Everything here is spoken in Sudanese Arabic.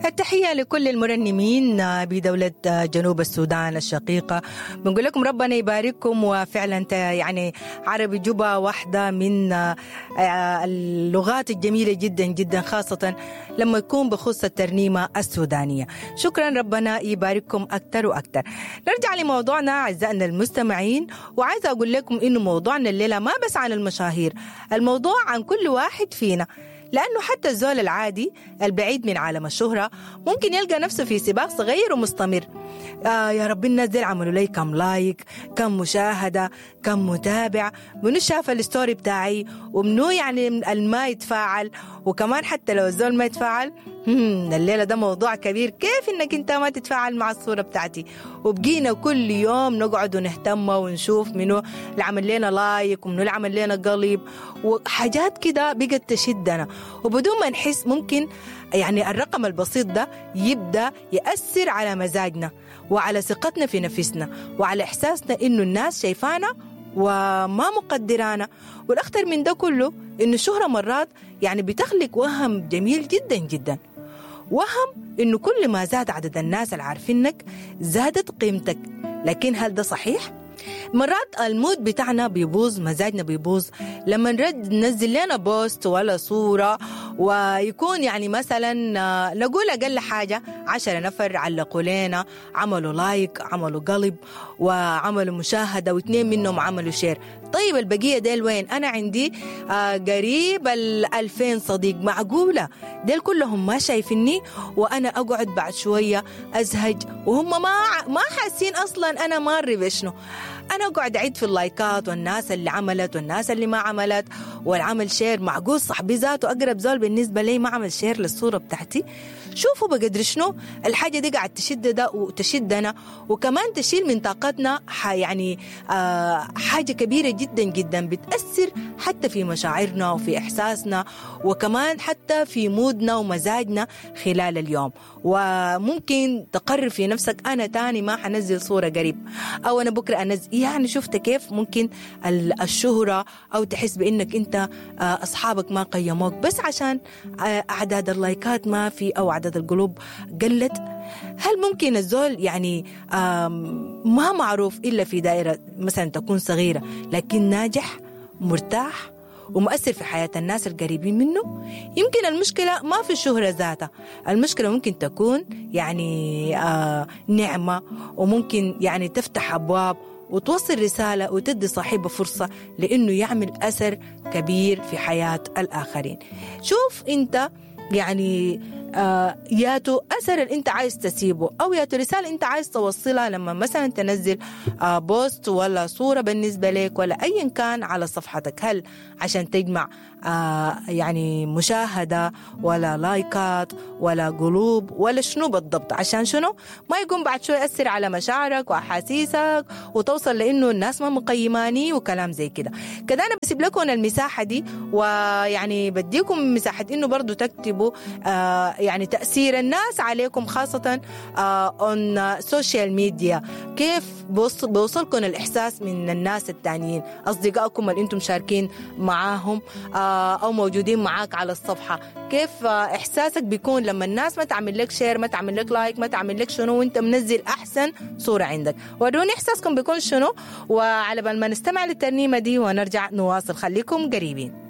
التحية لكل المرنمين بدولة جنوب السودان الشقيقة. بنقول لكم ربنا يبارككم، وفعلا يعني عربي جوبا واحدة من اللغات الجميلة جدا جدا، خاصة لما يكون بخصوص الترنيمة السودانية. شكرا، ربنا يبارككم أكثر وأكثر. نرجع لموضوعنا أعزائنا المستمعين، وعايزة أقول لكم إنه موضوعنا الليلة ما بس عن المشاهير، الموضوع عن كل واحد فينا، لأنه حتى الزول العادي البعيد من عالم الشهرة ممكن يلقى نفسه في سباق صغير ومستمر. يا رب الناس ديل عملوا لي كم like، كم مشاهدة، كم متابع، منو شاف ال story بتاعي، ومنو يعني الما يتفاعل. وكمان حتى لو الزول ما يتفاعل، الليلة ده موضوع كبير، كيف انك انت ما تتفاعل مع الصورة بتاعتي؟ وبقينا كل يوم نقعد ونهتم ونشوف منو اللي عمل لنا like ومنو اللي عمل لنا قلب وحاجات كده بقت تشدنا، وبدون ما نحس ممكن يعني الرقم البسيط ده يبدأ يأثر على مزاجنا وعلى ثقتنا في نفسنا وعلى إحساسنا إنه الناس شايفانا وما مقدرانا. والأخطر من ده كله إنه الشهرة مرات يعني بتخلق وهم جميل جدا جدا، وهم إنه كل ما زاد عدد الناس العارفينك زادت قيمتك. لكن هل ده صحيح؟ مرات ال mood بتاعنا بيبوظ، مزاجنا بيبوظ لما نرد ننزل لنا post ولا صورة، ويكون يعني مثلا نقول أقل حاجة 10 نفر علقوا لنا، عملوا like، عملوا قلب، وعملوا مشاهدة، و2 منهم عملوا share. طيب البقية ديل وين؟ أنا عندي قريب 2000 صديق، معقولة ديل كلهم ما شايفيني؟ وأنا أقعد بعد شوية أزهج وهم ما حاسين أصلا أنا ماري بشنو. أنا أقعد أعيد في اللايكات والناس اللي عملت والناس اللي ما عملت والعمل share. معقول صاحبي ذاته أقرب زول بالنسبة لي ما عمل share للصورة بتاعتي؟ شوفوا بقدر شنو الحاجة دي قاعد تشد ده وتشدنا، وكمان تشيل من طاقتنا يعني حاجة كبيرة جدا جدا، بتأثر حتى في مشاعرنا وفي إحساسنا، وكمان حتى في مودنا ومزاجنا خلال اليوم. وممكن تقرر في نفسك أنا تاني ما حنزل صورة قريب، أو أنا بكرة أنزل. يعني شفت كيف ممكن الشهرة أو تحس بأنك أنت أصحابك ما قيموك بس عشان أعداد اللايكات ما في أو عدد القلوب قلت. هل ممكن الزول يعني ما معروف إلا في دائرة مثلا تكون صغيرة لكن ناجح مرتاح ومؤثر في حياة الناس القريبين منه؟ يمكن المشكلة ما في الشهرة ذاتها، المشكلة ممكن تكون يعني نعمة، وممكن يعني تفتح أبواب وتوصل رسالة وتدي صاحبه فرصة لأنه يعمل أثر كبير في حياة الآخرين. شوف أنت يعني ياتو أثر اللي أنت عايز تسيبه، أو ياتو رسالة أنت عايز توصلها لما مثلا تنزل post ولا صورة بالنسبة لك ولا أيا كان على صفحتك. هل عشان تجمع يعني مشاهدة ولا لايكات ولا قلوب ولا شنو بالضبط؟ عشان شنو ما يقوم بعد شوي يأثر على مشاعرك وأحاسيسك وتوصل لأنه الناس ما مقيماني وكلام زي كده. كده أنا بسيب لكم المساحة دي، ويعني بديكم مساحة إنه برضو تكتبوا يعني تأثير الناس عليكم، خاصة on social media. كيف بوصلكم الإحساس من الناس التانيين، أصدقائكم اللي أنتم شاركين معاهم أو موجودين معاك على الصفحة؟ كيف إحساسك بيكون لما الناس ما تعمل لك share، ما تعمل لك like، ما تعمل لك شنو وانت منزل أحسن صورة عندك؟ وروني إحساسكم بيكون شنو. وعلى بال ما نستمع للترنيمة دي ونرجع نواصل، خليكم قريبين.